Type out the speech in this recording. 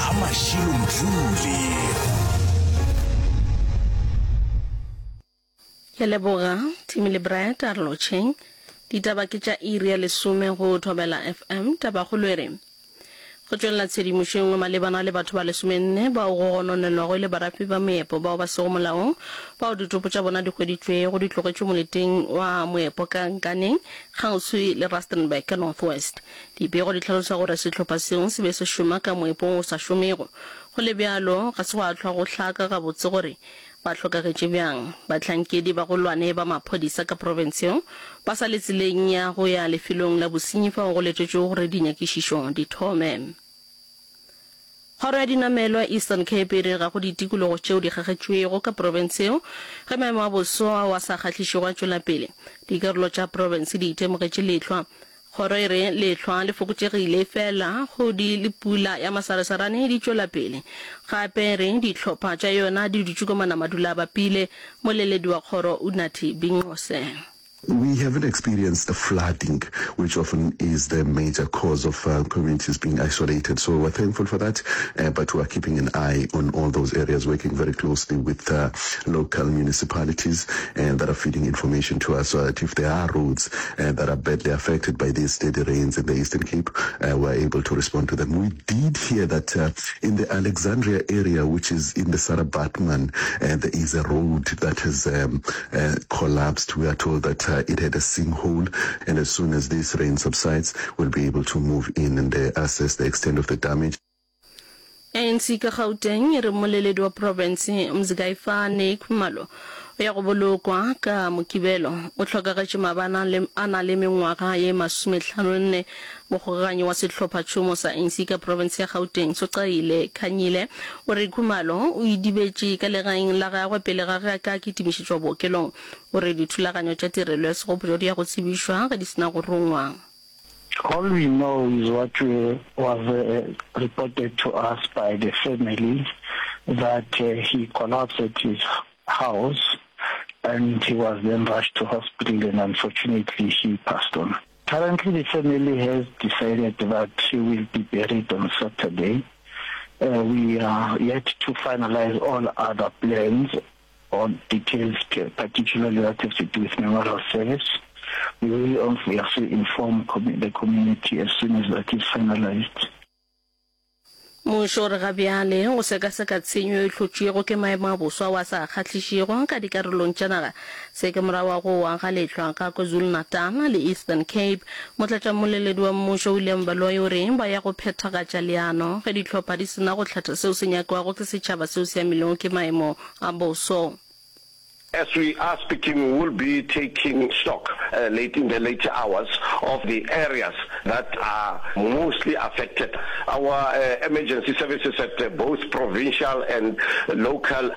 Ga Mashilo Mdluli. Ke a leboga, Timmy le Brad, a re lotšheng. Ditaba ke tša iri ya lesome go Thobela FM. Tabakgolo e re, Go tšwelela tshedimošo e nngwe malebana le batho ba lesomenne bao go gononelwago e le barafi ba meepo bao ba sego molaong bao ditopo tša bona di hweditšwego di tlogetšwe moleteng wa moepo ka Nkaneng kgauswi le Rustenburg ka North West. Dipego di hlalosa gore sehlopha seo se be se šoma ka moepong o sa šomego. Go le bjalo, ga se gwa hlwa go hlaka gabotse gore Ba hlokagetše bjang? Bahlankedi bagolwane ba maphodisa ka profense yeo ba sa le tseleng ya go ya lefelong la bosenyi fao go letetšwego gore dinyakišišo di thome. Kgoro ya dinamelwa Eastern Cape e re ga go ditikologo tšeo di kgagetšwego ka profense yeo ge maemo a boso ao a sa kgahlišego a tšwela pele. Dikarolo tša profense di itemogetše lehlwa Kgoro e re lehlwa le fokotšegile efela kgodi le pula ya masaresarane di tšwela pele. Gape e re dihlopha tša yona di dutše ko manamadula a bapile. Moleledi wa kgoro Unathi Binqose. We haven't experienced flooding, which often is the major cause of communities being isolated, so we're thankful for that, but we are keeping an eye on all those areas, working very closely with local municipalities that are feeding information to us so that if there are roads that are badly affected by these steady rains in the Eastern Cape, we're able to respond to them. We did hear that in the Alexandria area, which is in the Sarah Baartman, there is a road that has um, collapsed. We are told that it had a sinkhole, and as soon as this rain subsides, we'll be able to move in and assess the extent of the damage. ANC ka Gauteng e re mmoleledi wa profense Mzikaifane Khumalo o ya go bolokwa ka Mokibelo. O hlokagetše maabane a le a na le mengwaga ye masometlhanonne. Mokgokaganyi wa sehlophatšhomo sa ANC ka profense ya Gauteng Socaile Khanyile o re Khumalo o idibetše ka legaeng la gagwe pele ga ge a ka kitimišetšwa bookelong. O re dithulaganyo tša tirelo ya segopotšo di ya go tsebišwa ge di se na go rungwa. All we know is what was reported to us by the family that he collapsed at his house and he was then rushed to hospital and unfortunately he passed on. Currently the family has decided that he will be buried on Saturday. We are yet to finalize all other plans or details particularly that have to do with memorial service. We will obviously inform the community as soon as that is finalized. Mmušo o re ga bjale o sekaseka tshenyo e hlotšwego ke maemo a boso ao a sa kgahlišego ka dikarolong tša naga. Se ke morago ga go wa ga lehlwa ka KwaZulu-Natal le Eastern Cape. Motlatšammoleledi wa mmušo William Baloyi o re ba ya go phethagatša leano ge dihlopha di se na go hlatha seo se nyakwago ke setšhaba seo se amilwego ke maemo a boso. As we are speaking, we will be taking stock late in the later hours of the areas that are mostly affected. Our emergency services at both provincial and local.